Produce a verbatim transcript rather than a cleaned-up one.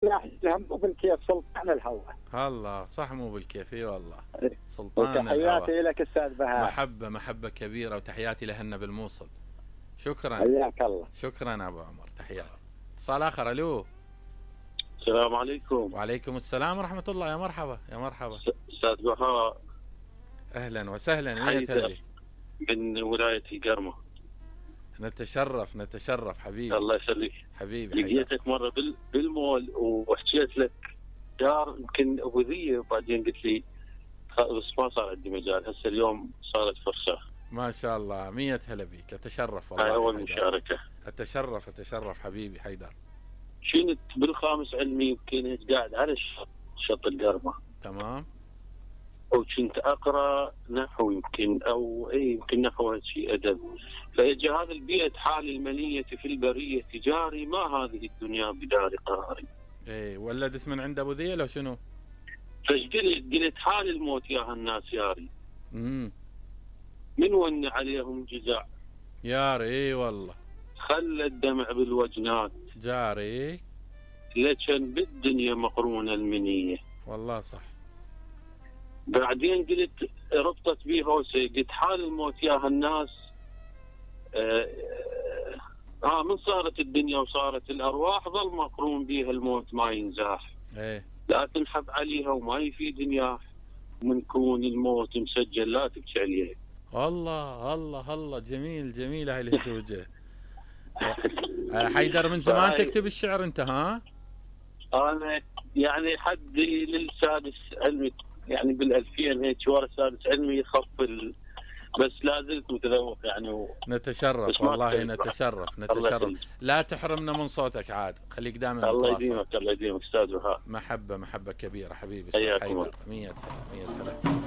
لا مو بالكيف، سلطان الهوى. الله صح، مو بالكيف، اي والله. إيه. سلطان الهوى. وتحياتي لك استاذ بهاء. محبة محبة كبيرة، وتحياتي لهن بالموصل. شكرا. حياك الله. شكرا ابو عمر، تحياتي. اتصال اخر. الو. السلام عليكم. وعليكم السلام ورحمة الله. يا مرحبا يا مرحبا استاذ بهاء. اهلا وسهلا. مية هلا من ولاية القرمة. نتشرف نتشرف حبيبي. الله يخليك حبيبي. لقيتك مرة بالمول وحكيت لك دار يمكن ابو ذيه، وبعدين قلت لي بس ما صار عندي مجال. هسه اليوم صارت فرصة. ما شاء الله. مية هلا بيك. اتشرف والله. هاي اول مشاركة. اتشرف اتشرف حبيبي حيدر. كنت بالخامس علمي، وكنت قاعد على الشط شط القرمة. تمام. وكنت اقرا نحو يمكن او اي يمكن نحو شيء ادب. فاجى هذا البيئة حال المنية في البرية تجاري، ما هذه الدنيا بدار قراري. ايه ولدت من عند ابو ذيه لو شنو؟ فقلت قلت حال الموت يا هالناس ياري. امم من ون عليهم جزع ياري. اي والله. خلى الدمع بالوجنات جاري. لكن بالدنيا مقرونة المنية. والله صح. بعدين قلت ربطت بيه هوسه، قلت حال الموت يا هالناس. آه, اه من صارت الدنيا وصارت الارواح، ظل مقرون بيها الموت ما ينزاح. ايه لا تنحب عليها وما يفيد نياح، من كون الموت مسجل لا تبكي عليه. الله الله الله. جميل جميل هاي الهزوجة. حيدر من زمان تكتب الشعر انت؟ ها انا يعني حدي للسادس علمي، يعني بالألفين هيك ورا سادس علمي يخف ال... بس لا زلت متذوق يعني و... نتشرف والله. نتشرف نتشرف. لا تحرمنا من صوتك عاد، خليك دائما. الله يديمك الله يديمك استاذ بهاء. محبة محبة كبيرة حبيبي. حياكم الله. مية مية هلا.